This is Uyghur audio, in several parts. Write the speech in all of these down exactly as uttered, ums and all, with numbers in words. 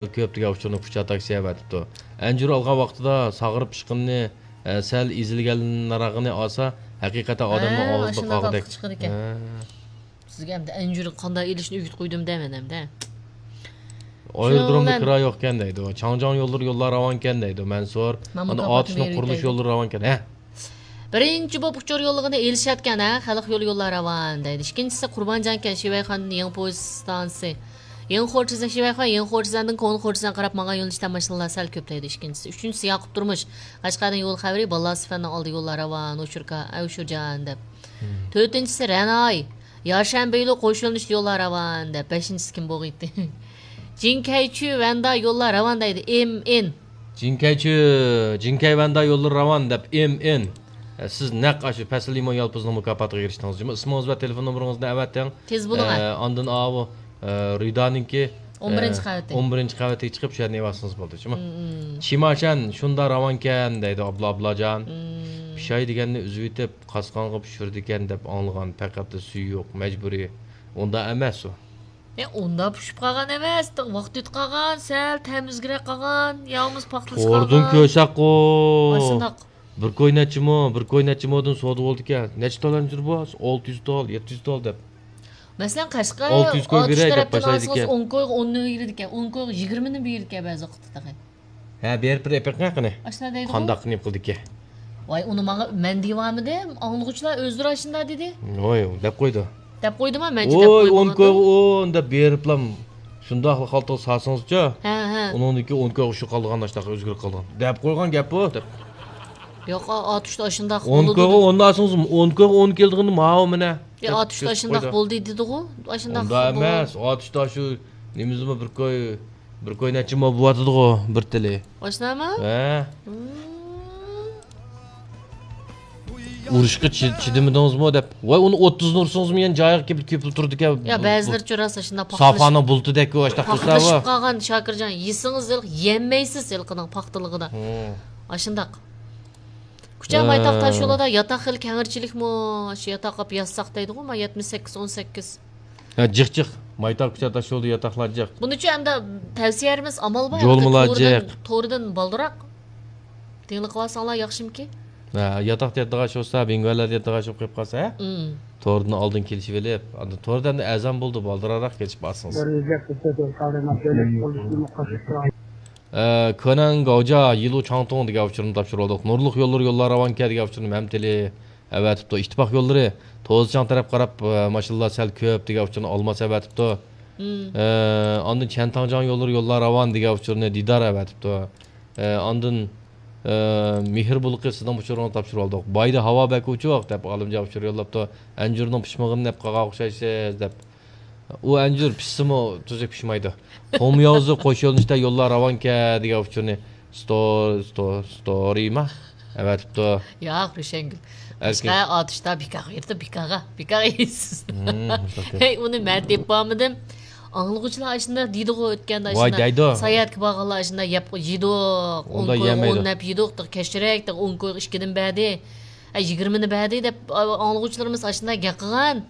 كۆپ دېگەن ئۇچۇرنى كۇچا تاكسى ئەۋەتىپتۇ. ئەنجۈر ئالغان ۋاقتىدا ساغىرىپ ئىشقىنىنى، ئە، سەل ئېزىلگەنراقىنى ئالسا، ھەقىقەتەن ئادەمنىڭ ھە، ئاغزىدا ئاشۇنداق قاغىدەك. ۋاقىت چىقىدىكەن. ھە. سىزگە ئەمدى ئەنجۈر قانداق ئېلىشنى ئۆگىتىپ قويدۇم دەمەن ئەمدى. ئايرودرومدا شۇنىڭ بىلەن كىرا يوقكەن دەيدۇ. چاڭجياڭ يوللىرى يوللار راۋانكەن دەيدۇ. مەنسۇر. مانا ئاتۇشنىڭ قۇرۇلۇش يوللىرى راۋانكەن. ھە. بىرىنچى بولۇپ ئۇچۇر يوللىغىنى ئېلىشەتكەن، ھە، خەلق يولى يوللار راۋان دەيدۇ. ئىككىنچىسى قۇربانجانكەن، شىۋەيخاندىن يېڭى پويىز ئىستانسىسى. يېڭى خورتىزەن، شىۋەيخان، يېڭى خورتىزەندىن كونا خورتىزەن قاراپ ماڭغان يۆنىلىشتە ماشىنىلار سەل كۆپلەيدۇ. ئىككىنچىسى، ئۈچىنچىسى ياقۇپ تۇرمۇش. قەشقەردىن يول خەۋىرى، باللا سىفەندىن ئالدى يوللار راۋان، ئوشۇركا، ئوشۇرجان دەپ. تۆتىنچىسى رەناي، يارشەنبەيلۇ قوش يۆنىلىشتە يوللار راۋان دەپ. بەشىنچىسى كىم بولغىيتتى؟ جىنكەيچۈ ۋەندا يوللار راۋان دەيدۇ. ئېم ئېن. جىنكەيچۈ، جىنكەي ۋەندا يوللىرى راۋان دەپ ئېم ئېن. ئە، سىز نەق ئاشۇ پەسىل لىمون يالپۇزنىڭ مۇكاپاتىغا ئېرىشتىڭىز جۇمۇ. ئىسمىڭىز ۋە تېلېفون نومۇرىڭىزنى ئەۋەتىڭ. تېز بولۇڭ، ئە، ھە. ئاندىن ئاۋۇ، ئە، رىدانىڭكى، ئون بىرىنچى ئە، قەۋىتى. ئون بىرىنچى قەۋىتىگە چىقىپ شۇ يەردىن ئېلىۋالسىڭىز بولدى جۇمۇ. مم، مم. چىماشەن شۇندا راۋانكەن دەيدۇ ئابلا ئابلاجان. مم. پىشاي دېگەننى ئۈزۈۋېتىپ قاسقانغا پىشۇرىدىكەن دەپ ئاڭلىغان، پەقەت سۈيى يوق، مەجبۇرىي. ئۇنداق ئەمەس ئۇ. ئە، ئۇنداق پىشىپ قالغان ئەمەس، ۋاقىت ئۆتۈپ قالغان، سەل تەم ئۆزگىرىپ قالغان، ياغىمۇ پاختىلىشىپ قالغان. توردىن كۆرسەكقۇ. ئاشۇنداق. بىر كوي نەچچە مو، بىر كوي نەچچە مودىن سودا بولىدىكەن. نەچچە تال ئەنجۈر بۇ؟ ئالتە يۈز تال، يەتتە يۈز تال دەپ. مەسىلەن، قەشقەر ئالتە يۈز كوي ئاتۇش بېرەي دەپ تەرەپتىن باشلايدىكەن. ئالسىڭىز، ئون كويغا ئوننى بېرىدىكەن، ئون كويغا يىگىرمىنى بېرىدىكەن بەزى ۋاقىتتا تېخى. ھە، بېرىپ بېرىپ ئېپىڭ قېنى. ئاشۇنداق دەيدىغۇ. قانداق نېمە قىلدىكى؟ ۋاي، ئۇنى ماڭا مەن دېيىۋالمىدىم. ئاڭلىغۇچىلار ئۆزلىرى ئاشۇنداق دېدى. ۋاي، دەپ قويدى. دەپ قويدىما؟ مەنچە دەپ ۋاي، ئون قويمىغاندا. كويغا ئون دەپ بېرىپلا شۇنداقلا خالتىغا سالسىڭىزچۇ؟ ھە، ھە. ئۇنىڭدىن كېيىن ئون كويغا شۇ قالغان ئاشۇنداق ئۆزگىرىپ قالغان. دەپ قويغان گەپ بۇ، دەپ. ياق، ئا-، ئاتۇشتا ئاشۇنداق ئون بولىدۇ كويغا دېدى. ئون ئالسىڭىز، ئون كويغا ئون كېلىدىغىنى ماۋۇ مېنە. يا، دەپ ئاتۇشتا كۆرسىتىپ ئاشۇنداق قويدى. بولدى دېدىغۇ. ئاشۇنداق ئۇنداق قىلدىغۇ. ئەمەس. ئاتۇشتا شۇ نېمىزمۇ بىر كوي بىر كوي نەچچە مو بوۋاتىدىغۇ بىر تىلى. ئاشۇنداقمۇ؟ ھە. مم. ئۇرۇشقا چى-، چىدىمىدىڭىزمۇ دەپ. ۋاي، ئۇنى ئوتتۇزنى ئۇرسىڭىزمۇ يەنە جايىغا كېلىپ كېپىلا تۇرىدىكەن. يا، بۇ، بەزىلىرى چۆرەسى شۇنداق پاختىلىشىپ، سافانىڭ بۇلتىدەك ئۇ ئاشۇنداق تۇرسا پاختىلىشىپ قالغان شاكىرجان، يېسىڭىز ھېلىقى يەنمەيسىز ھېلىقىنىڭ پاختىلىقىدا. ھە. ئاشۇنداق. كۇچا مايتاق تاشيولىدا ياتاق خېلى كەڭرىچىلىكمۇ؟ شۇ ياتاق قىلىپ يازساق دەيدىغۇ، ما يەتمىش سەككىز، ئون سەككىز. ھە، جىق جىق. مايتاق كۇچا تاشيولىدا ياتاقلار جىق. بۇنىچۇ ئەمدى تەۋسىيە بېرىمىز، ئامال بار. جولمىلار تورىدىن، جىق. تورىدىن بالدۇراق تىڭلىق قىلىۋالساڭلار ياخشىمىكىن؟ ھە، ياتاقتا ياتىدىغان ئىش بولسا، بىڭگۋەنلەردە ياتىدىغان ئىش بولۇپ قېلىپ قالسا، ھە؟ مم. تورىدىن ئالدىن كېلىشىۋېلىپ، ئاندىن توردا ئەمدى ئەزان بولدى، بالدۇرراق كېلىشىپ ئالسىڭىز. ئە، كۆنەڭ گاۋجا، يىلۇ چاڭتۇڭ دېگەن ئۇچۇرنى تاپشۇرۇۋالدۇق. نۇرلۇق يوللىرى يوللار راۋانكەن دېگەن ئۇچۇرنى مەمتىلى ئەۋەتىپتۇ. ئىتتىپاق يوللىرى، توزىچاڭ تەرەپ قاراپ، ئە، ماشىنىلار سەل كۆپ دېگەن ئۇچۇرنى ئالماس ئەۋەتىپتۇ. مم. ئە، ئاندىن چيەنتاڭجياڭ يوللىرى يوللار راۋان دېگەن ئۇچۇرنى دىدار ئەۋەتىپتۇ. ئە، ئاندىن، ئە، مېھىر بۇلىقى سىزنىڭ ئۇچۇرىڭىزنى تاپشۇرۇۋالدۇق. بايدا ھاۋا بەك ئوچۇق دەپ ئالىمجان ئۇچۇر يوللاپتۇ. ئەنجۈرنىڭ پىشمىغىنى دەپ قالغان ئوخشايسىز دەپ. ئۇ ئەنجۈر پىشسىمۇ تۈزۈك پىشمايدۇ. قۇمياۋزى قوش يۆنىلىشتە يوللار راۋانكەن دېگەن ئۇچۇرنى ستو-، ستو-، ستورىما ئەۋەتىپتۇ. ياق، روشەنگۈل. ئەركىن. باشقا ئاتۇشتا بىكارغا يېتىپ، بىكارغا، بىكارغا يېيىسىز. مم، شۇنداق. ھەي، ئۇنى مەن تېپىپ بارمىدىم. ئاڭلىغۇچىلار ئاشۇنداق دېيدىغۇ، ئۆتكەندە ۋاي، ئاشۇنداق دەيدۇ. ساياھەتكە بارغانلار ئاشۇنداق يەپ يېدۇق. ئۇنداق ئون كويغا يېمەيدۇ. ئون دەپ يېدۇق، كەچۈرەك، ئون كويغا ئىككىدىن بەردى. ئە، يىگىرمىنى بەردى دەپ، ئا، ئاڭلىغۇچىلىرىمىز ئاشۇنداق گەپ قىلغان.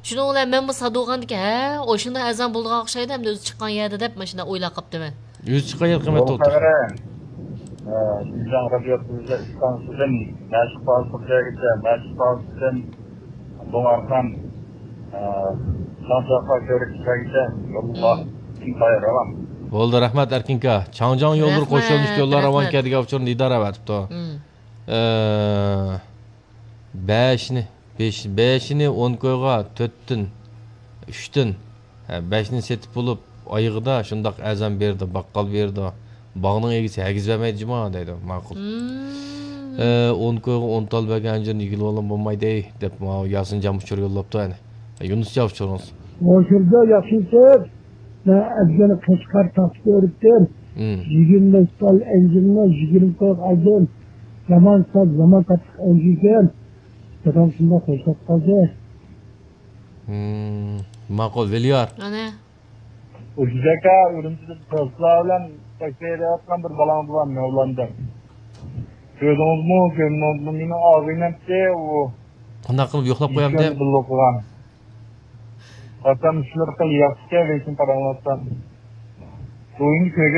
شۇنىڭ بىلەن مەنمۇ سادۇغاندىكى، ھە، ئاشۇنداق ئەزان بولىدىغان ئوخشايدۇ، ئەمدى ئۆزى چىققان يەردە دەپ ماشۇنداق ئويلاپ قاپتىمەن. ئۆزى چىققان يەر قىممەت بولۇپ تۇرۇپتۇ. قەرە، ئە، شىنجاڭ رادىيو تېلېۋىزىيە ئىستانسىسىدىن مەشىق پالىسىغىچە، مەشىق پالىسىدىن بۇڭ ئارقان، ئە، شاڭشاققا كۆۋرۈك چىققانغىچە يوللار مم. ئىنتايىن راۋان. بولدى، رەھمەت، ئەركىنكا. چاڭجياڭ يوللىرى رەھمەت، قوشۇلۇش يوللار رەھمەت. راۋانكەن دېگەن ئۇچۇرنى دىدار ئەۋەتىپتۇ. مم. ئە، بەشنى، بەش-، بەشىنى ئون كويغا تۆتتىن، ئۈچتىن، ھە، بەشنى سېتىپ بولۇپ، ئايىغىدا شۇنداق ئەزان بېرىدۇ، باققال بېرىدۇ. باغنىڭ ئىگىسى ھەرگىز بەرمەيدۇ جۇما دەيدۇ. ماقۇل. مم. ئە، ئون كويغا ئون تال بەرگەن ئەنجۈرنى يېگىلى بولمايدۇ دەپ، ماۋۇ ياسىنجان ئۇچۇر يوللاپتۇ، ئەنە. يۇنۇسجان ئۇچۇرىڭىز. ھوشۇمدا ياخشىسىز. مەن ئەزگىنە قەشقەر تاكسى كۆرۈپتىم. مم. يىگىرمە بەش تال ئەنجۈرنى يىگىرمە كويغا ئالدىم. زامان ساز، زامان قاتتىق ئەنجۈركەن. دادام شۇنداق خوشلاپ قالدى. مم، ماقۇل، ۋىليار. ئەنە. ئۇشۇ ئاكا، ئۈرۈمچىدە دوستلار بىلەن تەكشۈرۈۋاتقان بىر بالاڭىز بار، مەۋلاندىن. كۆردىڭىزمۇ، كۆرمىدىڭىزمۇ؟ مېنىڭ ئاغزىم ئەمدى ئۇ. قانداق قىلىپ يوقلاپ قويامدىم؟ بىللە ئوقۇغان. قاسام شۇلار قىل ياخشىكەن، لېكىن قاراڭلاشسام. بۇ ئۆينى كۆرگەن